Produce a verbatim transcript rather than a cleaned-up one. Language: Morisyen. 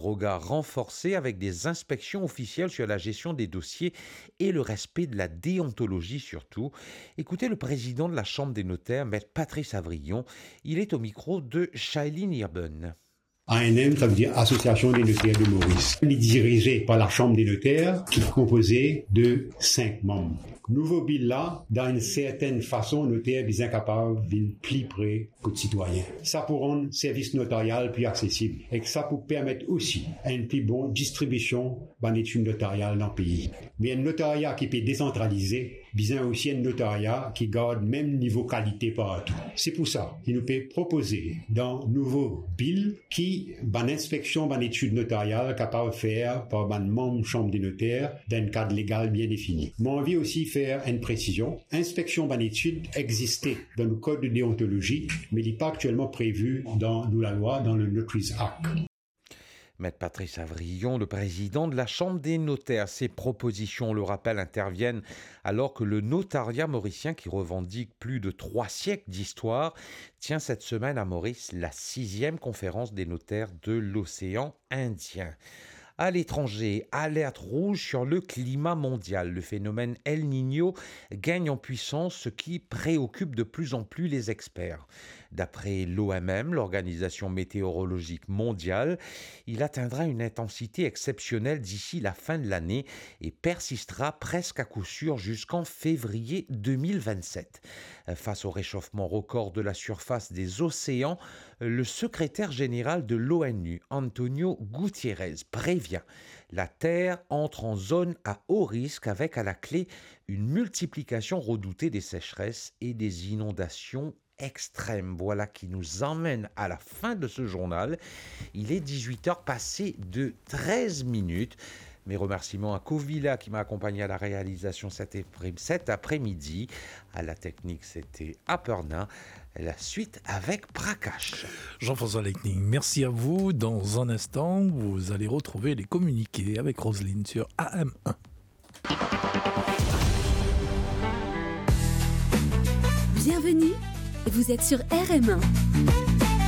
Regard renforcé avec des inspections officielles sur la gestion des dossiers et le respect de la déontologie surtout. Écoutez le président de la Chambre des notaires, Maître Patrice Avrillon. Il est au micro de Shailene Irben. A N M, sa vedir Association des notaires de Maurice. Li dirize par la Chambre des notaires, ki konpoze de sink manm. Nouvo bil la, dan enn sertenn fason, noter bizin kapav vinn pli pre kot sitwayin. Sa pou rann servis notaryal pli aksesib ek sa pou permet osi enn pli bon distribision bann etid notaryal dan pei. Me enn notarya ki pe desantralize, bizin osi enn notarya ki gard mem nivo kalite partou. Se pou sa ki nou pe propoze dan nouvo bil ki bann inspeksion, bann etid notaryal kapav fer par bann manm Chambre des notaires dan enn kad legal bien defini. Mo anvi osi fer enn presizion. Inspeksion bann etid existe dan nou kod deontolozi, me li pa aktielman previ dan nou lalwa, dan le Notaries Act. Maître Patrice Avrillon, le président de la Chambre des notaires. Ces propositions, on le rappelle, interviennent alors que le notariat mauricien, qui revendique plus de trois siècles d'histoire, tient cette semaine à Maurice la sixième conférence des notaires de l'océan Indien. À l'étranger, alerte rouge sur le climat mondial. Le phénomène El Niño gagne en puissance, ce qui préoccupe de plus en plus les experts. D'après l'O M M, l'Organisation météorologique mondiale, il atteindra une intensité exceptionnelle d'ici la fin de l'année et persistera presque à coup sûr jusqu'en février deux mille vingt-sept. Face au réchauffement record de la surface des océans, le secrétaire général de l'O N U, Antonio Guterres, prévient : la Terre entre en zone à haut risque avec à la clé une multiplication redoutée des sécheresses et des inondations extrêmes. Voilà qui nous emmène à la fin de ce journal. Il est dix-huit heures passées de treize minutes. Mes remerciements à Kovila qui m'a accompagné à la réalisation cet après- cet après-midi. À la technique, c'était Aparna. La suite avec Prakash. Jean-François Lightning, merci à vous. Dans un instant, vous allez retrouver les communiqués avec Roselyne sur A M un. Bienvenue, vous êtes sur R M un.